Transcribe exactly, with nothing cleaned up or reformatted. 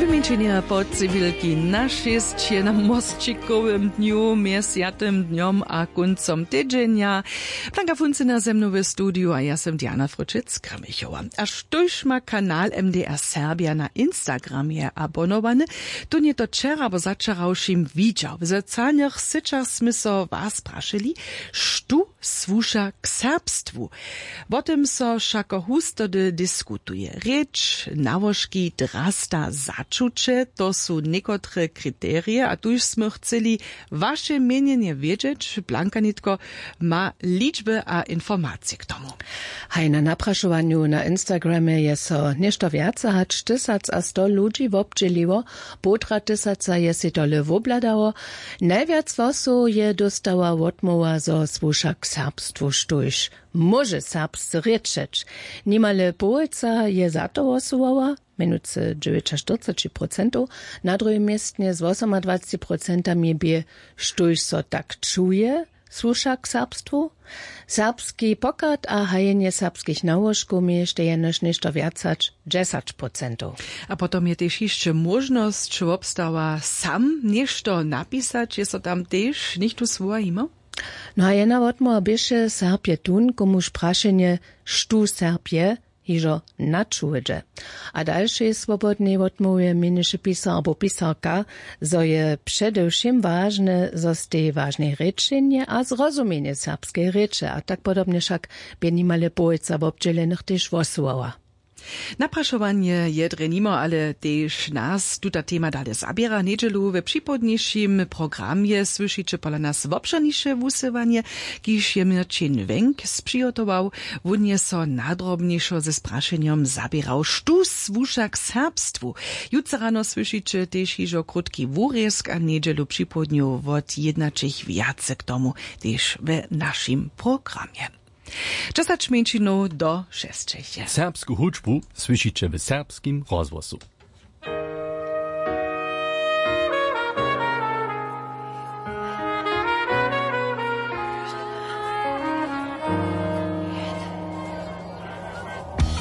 Mjeńšenje po cywilki na šěsć je na mosćikowym dnju mjez swjatym dnjom a kóncom tydźenja. Blanka Funcyna ze mnu w studiju a ja sym Diana Fryčec-Krmichowa. A štóž ma kanal M D R Serbja na Instagramje abonowany, tón je to wčera abo začerawšim widźał. W socialnych syćach smy so was prašili, štó słuša k serbstwu. Wo tym so wšako hustody diskutuje. Rěč, nałožki, drasta, začuće, to su někotre kriterije a tuž smy chcyli waše měnjenje wědźeć. Blanka nětko ma ličby a informacije k tomu. Haj, na naprašowanju na Instagramje je so něšto wjace hač tysac a sto ludźi wobdźěliło. Połtra tysaca je sej tole wobhladało. Najwjac hłosow je dóstała wotmołwa, zo słuša k serbstwu, štóž móže serbsce rěčeć. Nimale połojca je za to hłosowała, mjenujcy dźewjećaštyrceći procentow. Na druhim městnje z wosomadwaceći procentami bě, štóž so tak čuje, słuša k serbstwu. Serbski pochad a hajenje serbskich nałožkow měještej jenož něšto wjac hač dźesać procentow. A potom je tež hišće móžnosć wobstała, sam něšto napisać. Je so tam tež něchtó słowa jimał? No a jedna wotmołwa běše, serb je tón, komuž prašenje, štó serb je, hižo načuwje. A dalšej swobodnej wotmołwje měnješe pisar abo pisarka, zo je předewšěm wažne, zo stej wažne rěčenje a zrozumjenje serbskeje rěče. A tak podobnje wšak bě nimale połojca wobdźělenych tež hłosowała. Naprašowanje je drje nimo, ale tež nas tuta tema dale zaběra. Njedźelu we připołdnišim programje słyšiće pola nas wobšěrniše wusyłanje, kiž je měrćin wenk spřihotował. Wón je so nadrobnišo ze sprašenjom zaběrał, štó słuša k serbstwu. Jutře rano słyšiće tež hižo krótki wurězk a njedźelu připołdnju wot jědnaćich wjace k tomu tež we našim programje. Dźesać mjeńšinow do šesćich je. Serbsku hudźbu słyšiće w serbskim rozhłosu.